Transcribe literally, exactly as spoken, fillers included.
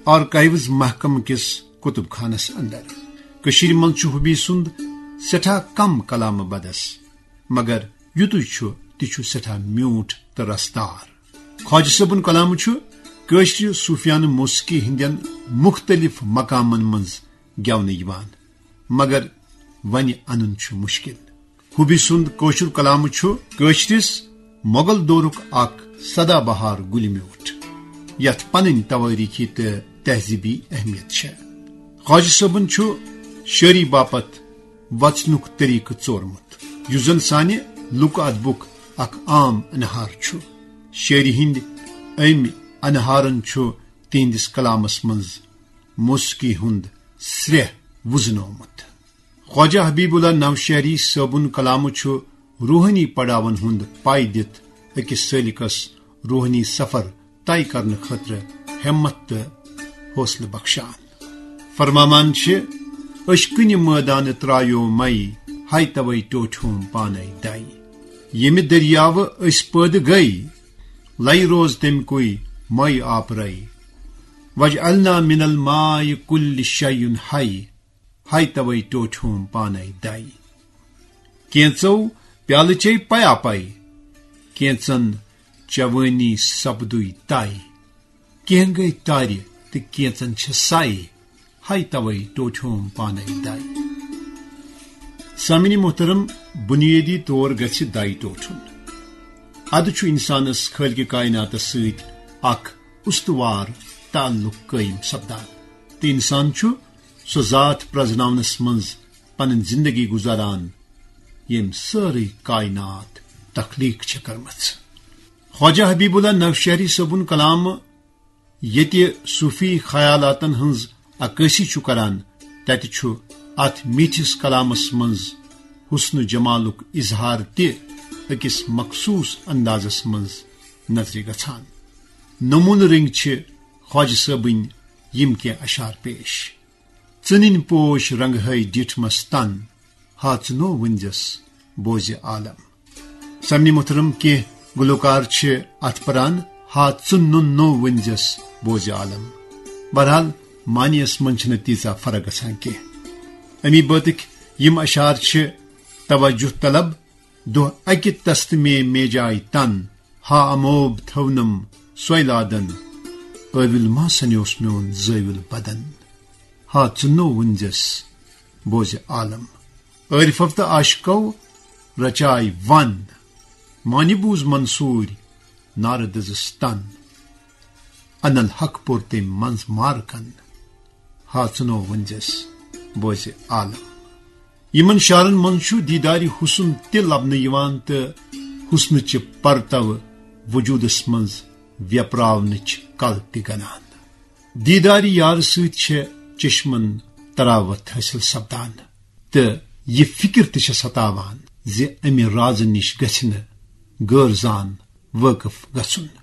آرکایوز محکمہٕ کِس کُتُب خانس اندر۔ کٔشیٖرِ منٛز چھُ حبی سُنٛد سٮ۪ٹھاہ کم کلامہٕ بدس، مگر یُتُے چھُ، تہِ چھُ سٮ۪ٹھاہ میوٗٹھ تہٕ رسدار۔ خواجہ صٲبُن کلامہٕ چھُ کٲشرِ صوٗفیانہٕ موسیقی ہٕنٛدٮ۪ن مُختٔلِف مقامن منٛز گٮ۪ونہٕ یِوان، مگر وۄنۍ انُن چھُ مُشکِل۔ حبی سُنٛد کٲشُر کلامہٕ چھُ کٲشرِس مغل دورُک اکھ سدا بہار گُلہِ میوٗٹھ، یتھ پنٕنۍ توٲریٖخی تہٕ تہذیٖبی اہمیت چھےٚ۔ خواجہ صٲبُن چھُ شٲعری باپتھ وژنُک طریقہٕ ژورمُت، یُس زن سانہِ لُکہٕ ادبُک اکھ عام انہار چھُ۔ شٲعری ہٕنٛدۍ أمۍ انہارن چھُ تِہنٛدِس کلامس منٛز موسیقی ہُنٛد سرٛیہ وُزنومُت۔ خواجہ حبیب اللہ نوشہری صٲبُن کلامہٕ چھُ روحٲنی پڑاون ہُنٛد پاے دِتھ أکِس سٲلِکس روحٲنی سفر طے کرنہٕ خٲطرٕ ہمت تہٕ حوصلہٕ بخشان۔ فرماوان چھِ، "عشقٕنہِ مٲدانہٕ ترٛایو مَے، ہاے توے ٹوٹھیوم پانے دَے۔ ییٚمہِ دٔریاوٕ أسۍ پٲدٕ گٔے، لَے روز تَمہِ کُے مَے آپرَے۔ وجعلنا من الماء کل شیء حی، ہاے توے ٹوٹھیوم پانے دَے۔ کینژو پیالہٕ چے پیا پے، کینژن چوٲنی سپدُے طے۔ کینٛہہ گٔے تارِ تہٕ کینژن چھِ سَے، ہاے توے ٹوٹھیوم پانے دَے۔" سامعین محترم، بنیٲدی طور گژھِ دَے ٹوٹھُن۔ ادٕ چھُ انسانس خالق کائناتس سۭتۍ اکھ استوار تعلق قٲیِم سپدان تہٕ انسان چھُ سۄ ذات پرزناونس منٛز پنٕنۍ زندگی گزاران، ییٚمۍ سٲرٕے کائنات تخلیق چھےٚ کٔرمٕژ۔ خواجہ حبیب اللہ نوشہری صٲبُن کلام ییٚتہِ صوفی خیالاتن ہٕنٛز عکٲسی چھُ کران، تتہِ چھُ اتھ میٖٹھِس کلامس منٛز حسن جمالُک اظہار تہِ أکِس مخصوٗص اندازس منٛز نظرِ گژھان۔ نمونہٕ رٔنگۍ چھِ خواجہ صٲبٕنۍ یِم کینٛہہ اشعار پیش۔ ژٕنٕنۍ پوش رنگہٕ ہے ڈیٹھمس تن، ہا ژٕ نو ؤنزس بوزِ عالم۔ سامعین محترم، کینٛہہ گلوکار چھِ اتھ پران، ہا ژٕ نُن نو ؤنزس بوزِ عالم۔ بہرحال، معنیس منٛز چھنہٕ تیٖژاہ فرق گژھان کینٛہہ۔ امی بٲتٕکۍ یِم اشعار چھِ توجہ طلب۔ دۄہ اکہِ تستہٕ مے میجاے تن، ہا اموب تھونم سۄیلادن، ٲوِل ما سنیوس میون زٲوِل بدن۔ ہا ژٕ نو ؤنزس بوزِ عالم۔ عٲرفو تہٕ عاشقو رچاے ون، معنی بوٗز منصوٗرۍ نارٕ دٔزٕس تن۔ انل حق پوٚر تٔمۍ منٛز مارکن، ہا ژٕ نو ؤنزس بوزِ عالم۔ یِمن شعرن منٛز چھُ دیدارِ حسن تہِ لبنہٕ یِوان تہٕ حسنٕچہِ پرتو وجوٗدس منٛز ویپراونٕچ کل تہِ گنان۔ دیدارِ یارٕ سۭتۍ چھےٚ چشمن تراوت حٲصِل سپدان تہٕ یہِ فکر تہِ چھےٚ ستاوان زِ امہِ رازٕ نِش گژھِ نہٕ غٲر زان وٲقف گژھُن۔